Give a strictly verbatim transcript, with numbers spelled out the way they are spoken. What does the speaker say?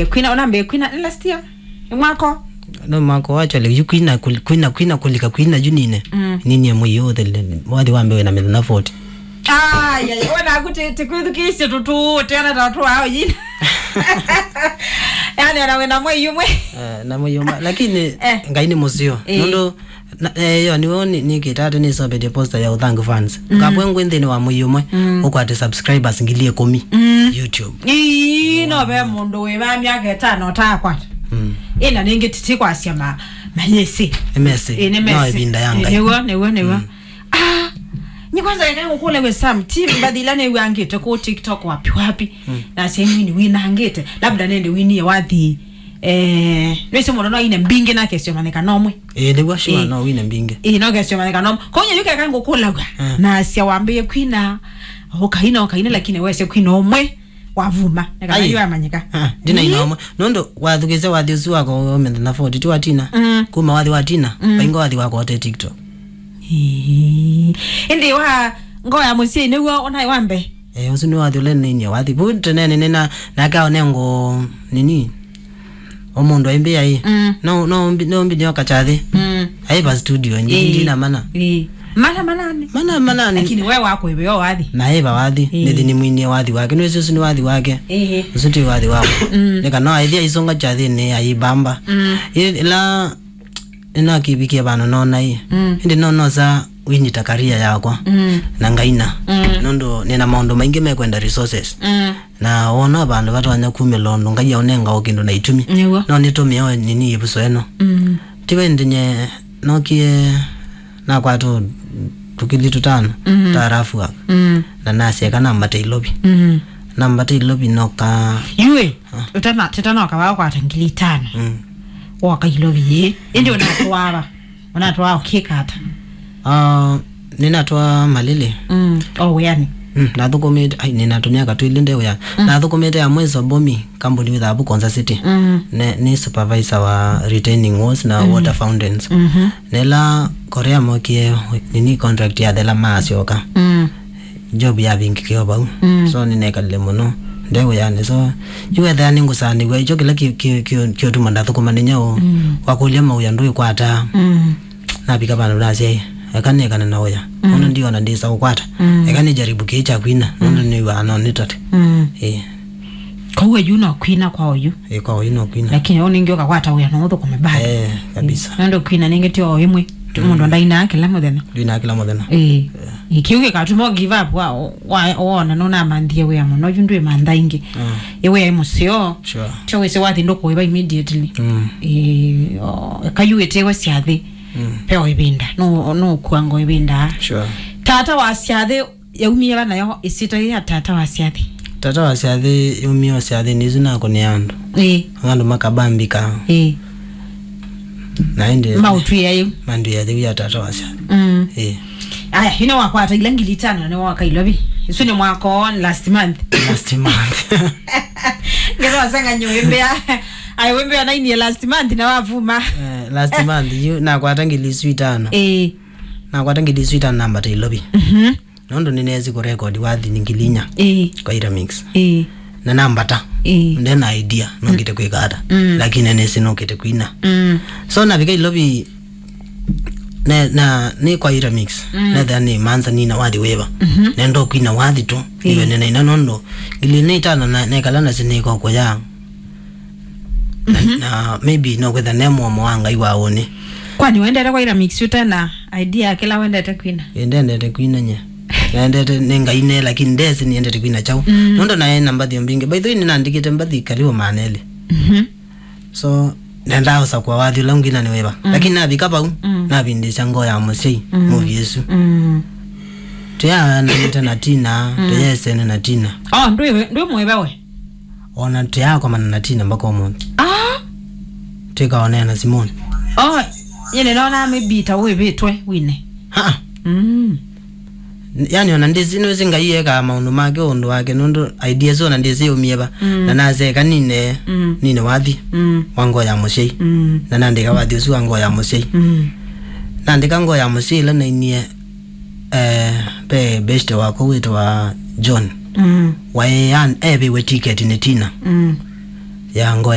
Kwina, ona mbe kwina last year. Mwako. No mwako, actually, yu kwina, kul-, kwina, kwina, kulika kwina yu nine. Mm. Ninie mwei ũthele, wathi wa mbee na mĩthenya forty. Ai, ai, ona kuti, tikwithukisye tutu, tiana ta tu ao yina. Yani, ona wena mwei umwe. Eh, na mwei umwe. Lakini, eh, Ngai nĩ mũseo. Eh. Nũndũ Na, eh, yo, nĩwe nĩ, nĩkĩte atĩ nĩsovetie poster ya ũthangu fans. Mm. Kapwe ngwĩ nthĩnĩ wa mwei ũmwe, mm, ũkwate subscribers ngili ĩkũmi, mm, YouTube. Ii, no ve mũndũ wĩ va myaka ĩtano ũtaakwata. Mm. Ĩna nĩngĩ titi kwasya ma, ma yesi. Nĩ mesi. Ĩ, nĩ mesi. No ĩvinda ya Ngai. Nĩw'o, nĩw'o, nĩw'o. Mm. Ah, nĩ kwanza eka ngũkũle we Sam, ti mbathi ila nĩw'angĩte kũ TikTok wapi wapi. Mm. Na sehemu ni winangĩte. Labda nende winie wathi. Eh, nĩsĩ mũndũ no aine mbingĩ na akesyomanĩka nomwe. Ĩĩ, nĩw'o, sure, ĩĩ, no wine mbingĩ. Ĩĩ, no kesyomanĩka nomwe. Kwa hiyo yukeka ngũkũlaw'a. Eh. Na asya wambĩie kwina, ũkaina, ũkaina, lakini wese kwina ũmwe wavuma. Nĩ kana yu amanyĩka. Ah, ndinaina ũmwe. Nũndũ wathukĩsya wathi ũsu wako ũmĩthenya forty, ti wa Tina. Mm. Kuma wathi wa Tina, mm, vaingo wathi wako ote TikTok. Ĩĩ. Ĩndĩ wa ngoo ya mũsyai nĩw'o ũnaĩ wa mbee. Eh, ũsu nĩ wathi ũla nĩnainie wathi. Vu tene nĩna, nake aonengo nini? O mũndũ aimbĩa ĩ. Mm. No, no mbi-, no mbi nĩoka kyathĩ. Mm. Aiva studio, ndi-, ĩĩ, ndina mana. Ĩĩ. Mana manani. Mana manani. Lakini we wako iwe yo wathi. Na eva wathi. Ĩĩ. Nĩthi nĩmwinie wathi wake. Nĩwĩsĩ ũsu nĩ wathi wake. Ĩĩ. Ũsu ti wathi wako. Mm. Nĩ kana aithia aisunga kyathĩnĩ aibamba. Mm. Ĩ-, ĩla nĩnakĩvikie vandũ nona ĩ. Mm. Ĩndĩ no nosa winyita career yakwa. Mm. Na ngaina. Mm. Nũndũ nĩna maũndũ maingĩ mekwenda resources. Mm. Na wona vandũ vatonya kumĩla ũndũ Ngai aũnenga o kĩndũ na itumi. Nĩw'o. No nĩtũmĩe o nini ĩvuso ĩno. Mm. Tiwe ĩndĩ nye nokie nakwata tũkili tũtano, mm, twa rough work. Mm. Na nasya eka nambate Ilovi. Mm. Nambate Ilovi noka. Yue, ah, ũtana, tũtanoka wakwata ngili itano. Mm. Woka Ilovi yĩ. Ĩndĩ ũnatwaa va? Ũnatwaa ũkĩka ata? Ah, nĩnatwaa Malili. Mm. O wĩanĩ. Mm, nathũkũmĩte, ai, nĩnatũmĩa katwĩlĩ nde wĩa. Mm. Nathũkũmĩte ya Mweso Bomi, kambuni wĩthaa vu Konza City. Mm. Ne, nĩ supervisor wa retaining walls na, mm, water fountains. Mm-hmm. Nela Korea mokie nini contract yathela maasyoka. Mm. Job yavingĩkĩo vau. Mm. So nĩnekalile mũno nde wĩanĩ. So yu wethĩa nĩngũsaanĩw'a, ikyo kĩla kĩ-, kĩ-, kĩ-, kĩũtuma ndathũkũma nĩ nyaũ. Mm. Wakũlya mawĩa ndwĩkwataa. Mm. Navika vandũ nasya, "Eka nĩkane na ũya. Mm. Ũndũ ndiona ndĩsa ũkwata. Mm. Eka nĩjaribu kĩĩ kya kwina. Mm. Nũndũ nĩw'aa no nĩtate." Mm. Ĩĩ. Kwa hiyo yu no kwina kwa oyu. Ĩĩ, kwa oyu no kwina. Lakini ũyũ nĩngĩ ũkakwata wĩa no ũthũkũme bado. Eh, kabisa. Ĩĩ. Nũndũ kwina nĩngĩ ti o ĩmwe. Tu-, mm, mũndũ ndainaa kĩla mũthenya. Ndwinaa kĩla mũthenya. Ĩĩ. Eh. Ĩĩ, kĩu gĩkatuma give up wa, wa, wona nũnamanthie wĩa mũno, yu ndwĩmantha ingĩ. Mm. Ĩ wĩa ĩ mũseo. Sure. Tyo wĩsĩ wathi ndũkũĩva immediately. Mm. Ĩĩ, o, eka yu ĩtewe syathĩ. Mm. Peo ĩvinda. No, no kuango ĩvinda. Sure. Tata wa syathĩ yaumie va nayo ĩsita ya tata wa syathĩ? Tata wa syathĩ yaumie o syathĩnĩ isu nakũnĩa andũ. Ĩĩ. Andũ makabambika. Ĩĩ. Na ĩndĩ maũtwĩa yĩu. Mandwĩa yĩu ya tata wa syathĩ. Mm. Ĩĩ. Aya, ino wakwata ila ngili itano nĩ woka Ilovi. Isu nĩ mwaka on last month. Last month. Ngero wasanga nyũmbea. Ai, wembea nainie last month na wavuma. Eh, last month, yu nakwata ngili isu itano. Ĩĩ. Nakwata ngili isu itano nambata Ilovi. Mhm. Nũndũ nĩneesi kũrekodi wathi ngili inya. Ĩĩ. Kwa Iramix. Ĩĩ. Na nambata. Ĩĩ. Ndena idea nũkĩte kwĩka ata. Mm. Lakini nĩsĩ nũkĩte kwina. Mm. So navika Ilovi, ne, na, nĩ kwa Iramix. Mm. Nethĩa nĩ manza nina wathi wĩva. Mhm. Nenda kwina wathi tu. Ĩĩ. Iwe nĩnaina nũndũ ngili nĩ itano na nekala na sinĩko kũya. Na, mhm, na maybe no kwĩtha ne mũomo wa Ngai wa ũnĩ. Kwani wendete kwa Iramix ũte na idea ya kĩla wendete kwina? Ĩ, ndendete kwina nye. Nendete nĩ Ngai ne, lakini ndesĩ nĩendete kwina kyaũ. Mm. Nũndũ naĩ na mbathi mbingĩ. By the way, nĩnandĩkĩte mbathi karibu maana elĩ. Mhm. So, nendaa ũsakũa wathi ũla ngwina nĩ wĩva. Mm. Lakini navika vau, mm, navindĩsya ngoo ya mũsyai, mm, movie ĩsu. Mm. Tũyaanĩte na Tina, mm, tũyaesene na Tina. Oh, ndwĩ, ndwĩ mũĩve we? Ona tũyaakomana na Tina mpaka ũmũnthĩ. Ah! Twĩkaonea na Simoni. Oh, nyie nĩnonaa maybe ta wĩvĩtwe wine. Ha-a. Mm. Yani, ona ndĩsĩ, nĩwĩsĩ Ngai ekaa maũndũ make ũndũ wake, nũndũ idea ĩsu ona ndĩsĩ yaumie va. Mm. Na nasya eka nine, mm, nine wathi, mm, wa ngoo ya mũsyai. Mm. Na nandĩka wathi ũsu wa ngoo ya mũsyai. Mm. Nandĩka ngoo ya mũsyai ĩla nainie, eh, ve beshte wakwa wĩtawa John. Mm. Waĩ an-, evĩwe ticket nĩ Tina. Mm. ya ngoo